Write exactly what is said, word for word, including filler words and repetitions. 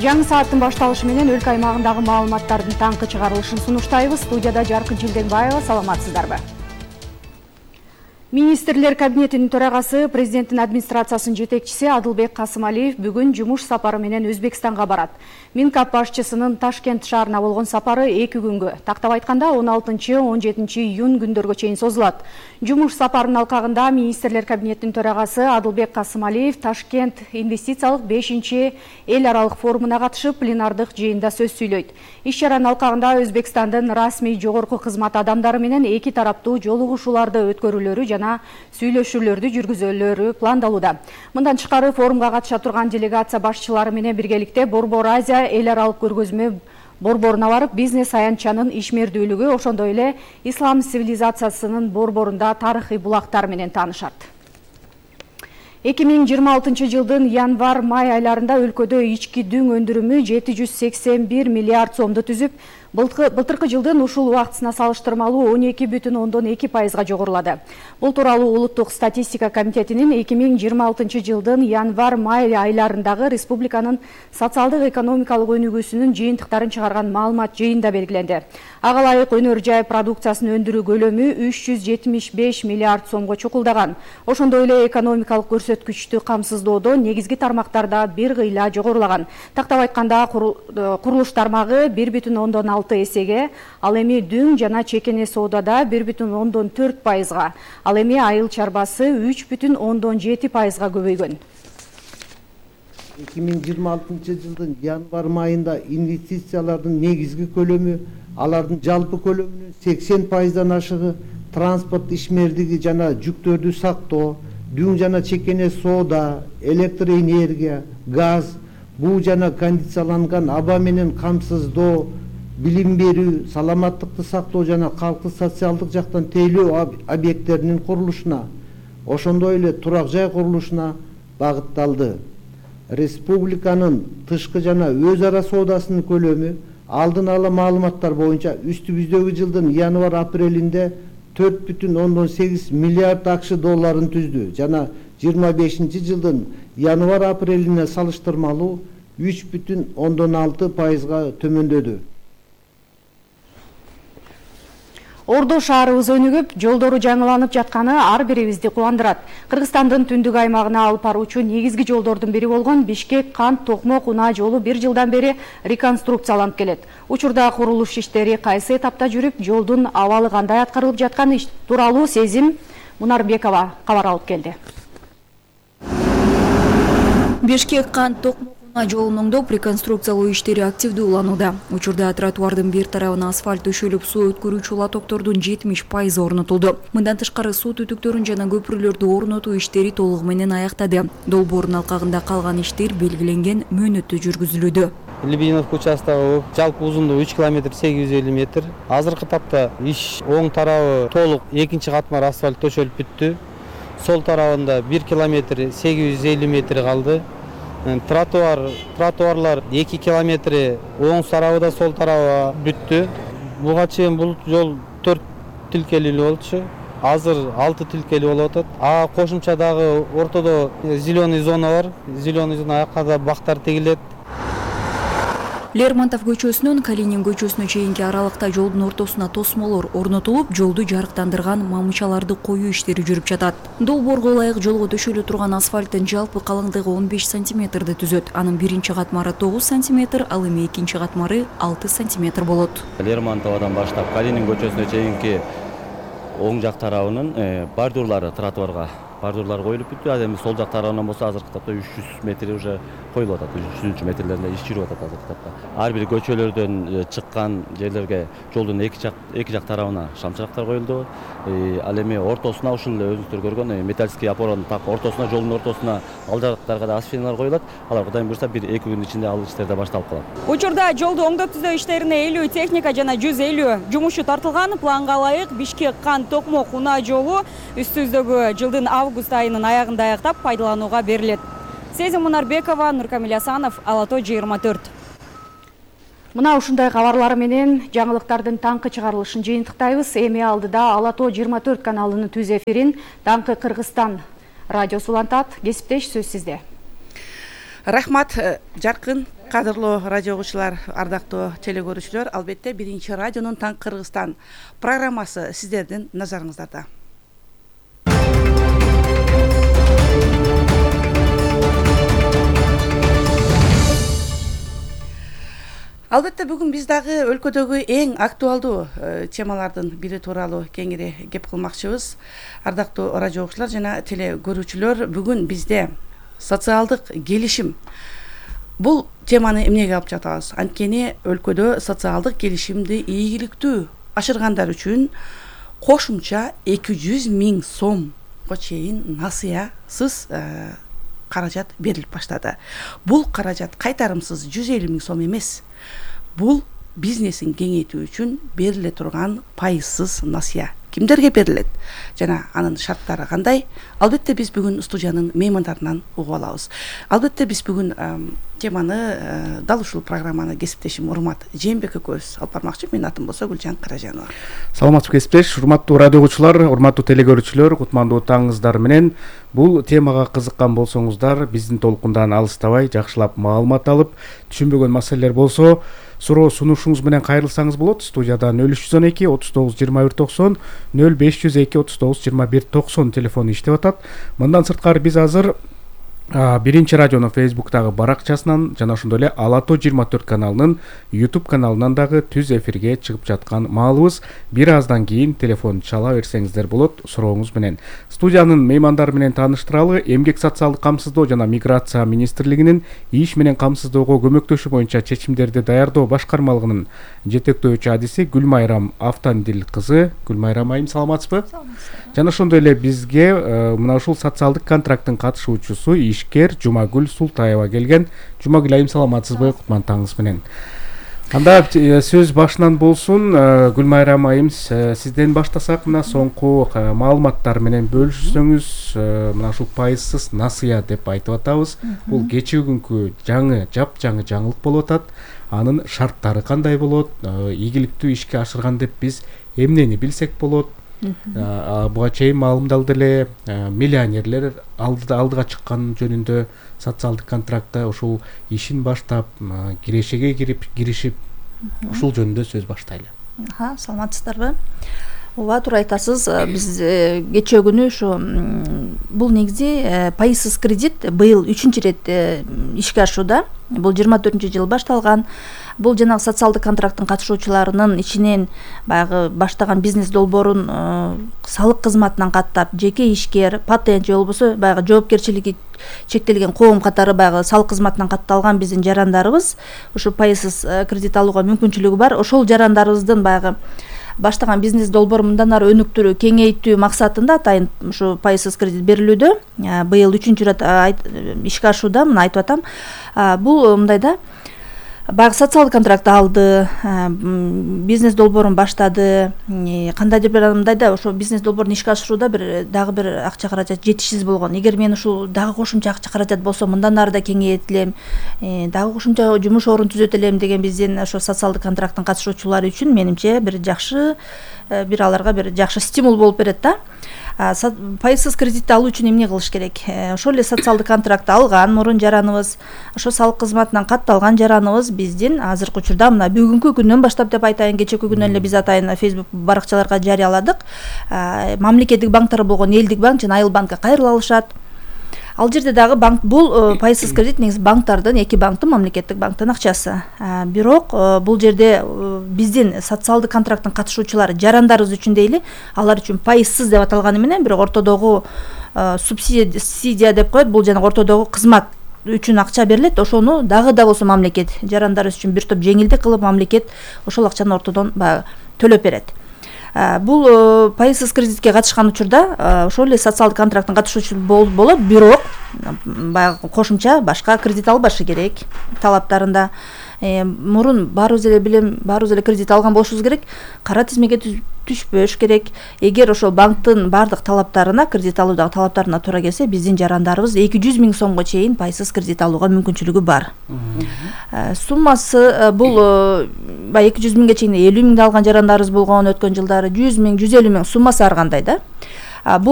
Жаңы сааттын башталышы менен өлкө аймагындагы маалыматтардын таңкы чыгарылышын сунуштайбыз. Студияда Жаркын Жылденбаева, саламатсыздарбы? Министрлер кабинетинин төрагасы, президенттин администрациясынын жетекчиси Адылбек Касымалиев бүгүн жумуш сапары менен Өзбекстанга барат. Минкап башчысынын Ташкент шаарына болгон сапары эки күнгө, тактап айтканда он алтынчы он жетинчи июнь күндөргө чейин созулат. Жумуш сапарынын алкагында Министрлер кабинетинин төрагасы Адылбек Касымалиев Ташкент инвестициялык бешинчи эл аралык форумуна катышып, пленардык жыйында сөз сүйлөйт. Иш-чаранын алкагында Өзбекстандын расмий жогорку кызмат адамдары менен эки тараптуу жолугушууларды өткөрүүлөрү жана сүйлөшүүлөрдү жүргүзөлөрү пландалууда. Мындан тышкары форумга катыша турган делегация башчылары менен биргеликте Борбор Азия эл аралык көргөзмө борборуна барып, бизнес аянтчанын ишмердүүлүгү, ошондой эле ислам цивилизациясынын борборунда тарыхый булактар менен таанышат. эки миң жыйырма алтынчы жылдын январ-май айларында өлкөдө ички дүң өндүрүмү жети жүз сексен бир миллиард сомду түзүп, былтыркы жылдын ушул убактысына салыштырмалуу он эки бүтүн ондон эки пайызга жогорулады. Бул тууралуу Улуттук статистика комитетинин эки миң жыйырма алтынчы жылдын январ-май айларындагы республиканын социалдык экономикалык өнүгүүсүнүн жыйынтыктарын чыгарган маалымат жыйында белгиленди. Ага ылайык өнөр жай продукциясын өндүрүү көлөмү үч жүз жетимиш беш миллиард сомго чукулдаган. Ошондой эле экономикалык көрсөткүчтү камсыздоодо негизги тармактарда бир кыйла жогорулаган. Тактап айтканда курулуш тармагы бир бүтүн ондон алты эсеге, ал эми дүң жана чекене соодада бир бүтүн ондон төрт пайызга, ал эми айыл чарбасы үч бүтүн ондон жети пайызга көбөйгөн. эки миң жыйырма алтынчы жылдын январ айында инвестициялардын негизги көлөмү, алардын жалпы көлөмүнүн сексен пайыздан ашыгы транспорт ишмердиги жана жүктөрдү сактоо, дүң жана чекене соода, электр энергия, газ, буу жана кондицияланган аба менен камсыздоо, билим берүү, саламаттыкты сактоо жана калкты социалдык жактан тейлөө объекттеринин курулушуна, ошондой эле турак жай курулушуна багытталды. Республиканын тышкы жана өз ара соодасынын көлөмү алдын ала маалыматтар боюнча үстүбүздөгү жылдын январ-апрелинде төрт бүтүн ондон сегиз миллиард акш долларын түздү жана жыйырма бешинчи жылдын январ-апрелине салыштырмалуу үч бүтүн ондон алты пайызга төмөндөдү. Ордо шаарыбыз өнүгүп, жолдору жаңыланып жатканы ар бирибизди кубандырат. Кыргызстандын түндүк аймагына алып баруучу негизги жолдордун бири болгон Бишкек-Кант Токмок унаа жолу бир жылдан бери реконструкцияланып келет. Учурда курулуш иштери кайсы этапта жүрүп, жолдун абалы кандай аткарылып жатканы тууралуу Сезим Мунарбекова кабар алып келди. Бишкек-Кант Токмок жолун оңдоп, реконструкциялоо иштери активдүү уланууда. Учурда тротуардын бир тарабына асфальт төшөлүп, суу өткөрүүчү лотоктордун жетимиш пайызы орнотулду. Мындан тышкары суу түтүктөрүн жана көпүрөлөрдү орнотуу иштери толугу менен аяктады. Долбоордун алкагында калган иштер белгиленген мөөнөттө жүргүзүлүүдө. Лебединовка участогу жалпы узундугу үч километр сегиз жүз элүү метр. Азыркы тапта иш оң тарабы толук экинчи катмар асфальт төшөлүп бүттү. Сол тарабында бир километр сегиз жүз элүү метр калды. Тротуар, тротуарлар эки километри оң тарабы сол тарабы бүттү. Буга чейин бул жол төрт тилкелүү болчу. Азыр алты тилкелүү болуп атат. А кошумча дагы ортодо зеленый зона бар. Зеленый зона аякка да бактар тегилет. Лермонтов көчөсүнөн Калинин көчөсүнө чейинки аралыкта жолдун ортосуна тосмолор орнотулуп, жолду жарыктандырган мамычаларды коюу иштери жүрүп жатат. Долбоорго ылайык жолго төшөлө турган асфальттын жалпы калыңдыгы он беш сантиметрди түзөт. Анын биринчи катмары тогуз сантиметр, ал эми экинчи катмары алты сантиметр болот. Лермонтовдон баштап Калинин көчөсүнө чейинки оң жак тарабынын бордюрлары тротуарга бордюрлар коюлуп бүттү. А эми сол жак тарабынан болсо азыркы тапта үч жүз метр уже коюлуп атат. үч жүзүнчү метрлеринде иш жүрүп атат азыркы тапта. Ар бир көчөлөрдөн чыккан жерлерге жолдун эки жак эки жак тарабына шамчырактар коюлду. Ал эми ортосуна ушул өзүңүздөр көргөн металлический опораның так ортосуна, жолдун ортосуна ал жактарга да асфальталар коюлат. Алар Кудайым буйрса бир эки күн ичинде ал иштер да башталып калат. Учурда жолду оңдоп түзөө иштерине элүү техника жана жүз элүү жумушчу тартылган. Планга ылайык Бишкек-Кант Токмок унаа жолу үстүбүздөгү жылдын август айынын аягында аяктап пайдаланууга берилет. Сезим Мунарбекова, Нуркамил Асанов, Ала То жыйырма төрт. Мына ушундай кабарлар менен жаңылыктардын таңкы чыгарылышын жыйынтыктайбыз. Эми алдыда Ала То жыйырма төрт каналынын түз эфирин Таңкы Кыргызстан радиосу улантат. Кесиптеш, сөз сизде. Рахмат, Жаркын. Кадырлуу радио угуучулар, ардактуу теле көрүүчүлөр, албетте биринчи радионун Таң Кыргызстан программасы сиздердин назарыңыздарда. Албетте бүгүн биз дагы өлкөдөгү эң актуалдуу темалардын бири тууралуу кеңири кеп кылмакчыбыз. Ардактуу радио угуучулар жана теле көрүүчүлөр, бүгүн бизде социалдык келишим. Бул теманы эмнеге алып жатабыз? Анткени өлкөдө социалдык келишимди ийгиликтүү ашыргандар үчүн кошумча эки жүз миң сомго чейин насыясыз каражат берилип баштады. Бул каражат кайтарымсыз жүз элүү миң сом эмес. Бул бизнесин кеңейтүү үчүн бериле турган пайызсыз насыя. Кимдерге берилет жана анын шарттары кандай? Албетте биз бүгүн студиянын меймандарынан угуп алабыз. Албетте биз бүгүн теманы дал ушул программаны кесиптешим Урмат Жээнбек экөөбүз алып бармакчы. Менин атым болсо Гүлжан Каражанова. Саламатсызбы кесиптеш, урматтуу радио угуучулар, урматтуу теле көрүүчүлөр, кутмандуу таңыңыздар менен. Бул темага кызыккан болсоңуздар, биздин толкундан алыстабай жакшылап маалымат алып, түшүнбөгөн маселелер болсо суроо сунушуңуз менен кайрылсаңыз болот. Студияда нөл үч жүз он эки отуз тогуз жыйырма бир токсон, нөл беш жүз эки отуз тогуз жыйырма бир токсон телефону иштеп атат. Мындан сырткары биз азыр биринчи радионун фейсбуктагы баракчасынан жана ошондой эле Ала тоо жыйырма төрт каналынын YouTube каналынан дагы түз эфирге чыгып жаткан маалыбыз. Бир аздан кийин телефон чала берсеңиздер болот сурооңуз менен. Студиянын меймандары менен тааныштыралы. Эмгек социалдык камсыздоо жана миграция министрлигинин иш менен камсыздоого көмөктөшүү боюнча чечимдерди даярдоо башкармалыгынын жетектөөчү адиси Гүлмайрам Автандил кызы. Гүлмайрам айым, саламатсызбы? Жана ошондой эле бизге мына ушул социалдык контракттын катышуучусу ишкер Жумагүл Султаева келген. Жумагүл айым, саламатсызбы? Кутман таңыңыз менен. Анда сөз башынан болсун. Гүлмайрам айым, сизден баштасак, мына соңку маалыматтар менен бөлүшсөңүз. Мына ушул пайызсыз насыя деп айтып атабыз. Бул кечээ күнкү жаңы, жапжаңы жаңылык болуп атат. Анын шарттары кандай болот? Ийгиликтүү ишке ашырган деп биз эмнени билсек болот? Буга чейин маалымдалды эле миллионерлер алдыга чыккан жөнүндө социалдык контрактта ушул ишин баштап кирешеге кирип киришип ушул жөнүндө сөз баштайлы. Саламатсыздарбы? Ооба, туура айтасыз. Биз кечээ күнү ушу бул негизи пайызсыз кредит быйыл үчүнчү ирет ишке ашууда. Бул жыйырма төртүнчү жыл башталган. Бул жанагы социалдык контракттын катышуучуларынын ичинен баягы баштаган бизнес долбоорун салык кызматынан каттап, жеке ишкер, патент же болбосо баягы жоопкерчилиги чектелген коом катары баягы салык кызматынан катталган биздин жарандарыбыз ушу пайызсыз кредит алууга мүмкүнчүлүгү бар. Ошол жарандарыбыздын баягы баштаган бизнес долбоору мындан ары өнүктүрүү, кеңейтүү максатында атайын ушу пайызсыз кредит берилүүдө. Быйыл үчүнчү ирет ишке ашууда, мына айтып атам. Бул мындай да, баягы социалдык контракт алды, бизнес долбоорун баштады. Кандайдыр бир мындай да, ошо бизнес долбоорун ишке ашырууда бир дагы бир акча каражат жетишсиз болгон. Эгер мен ушул дагы кошумча акча каражат болсо, мындан ары да кеңейтилем, дагы кошумча жумуш орун түзөт элем деген биздин ошо социалдык контракттын катышуучулары үчүн менимче бир жакшы, бир аларга бир жакшы стимул болуп берет да. Пайызсыз кредитти алуу үчүн эмне кылыш керек? Ошол эле социалдык контрактты алган мурун жараныбыз, ошо салык кызматынан катталган жараныбыз биздин азыркы учурда мына бүгүнкү күндөн баштап деп айтайын, кечээки күнөн эле биз атайын Facebook баракчаларга жарыяладык. Мамлекеттик банктар болгон Элдик банк жана Айыл банкка кайрыла алышат. Ал жерде дагы банк, бул пайызсыз кредит негизи банктардын, эки банктын, мамлекеттик банктын акчасы. Бирок бул жерде биздин социалдык контракттын катышуучулары жарандарыбыз үчүн дейли, алар үчүн пайызсыз деп аталганы менен бирок ортодогу субсидия деп коет. Бул жана ортодогу кызмат үчүн акча берилет. Ошону дагы да болсо мамлекет жарандарыбыз үчүн бир топ жеңилдик кылып, мамлекет ошол акчаны ортодон баягы төлөп берет. Бул пайызсыз кредитке катышкан учурда ошол эле социалдык контракттын катышуучусу болот, бирок баягы кошумча башка кредит албашы керек талаптарында. Мурун баарыбыз эле билем, баарыбыз эле кредит алган болушубуз керек. Кара тизмеге түшпөш керек. Эгер ошол банктын бардык талаптарына, кредит алуудагы талаптарына туура келсе, биздин жарандарыбыз эки жүз миң сомго чейин пайызсыз кредит алууга мүмкүнчүлүгү бар. Суммасы бул баягы эки жүз миңге чейин элүү миңди алган жарандарыбыз болгон өткөн жылдары, жүз миң, жүз элүү миң суммасы ар кандай да. Бул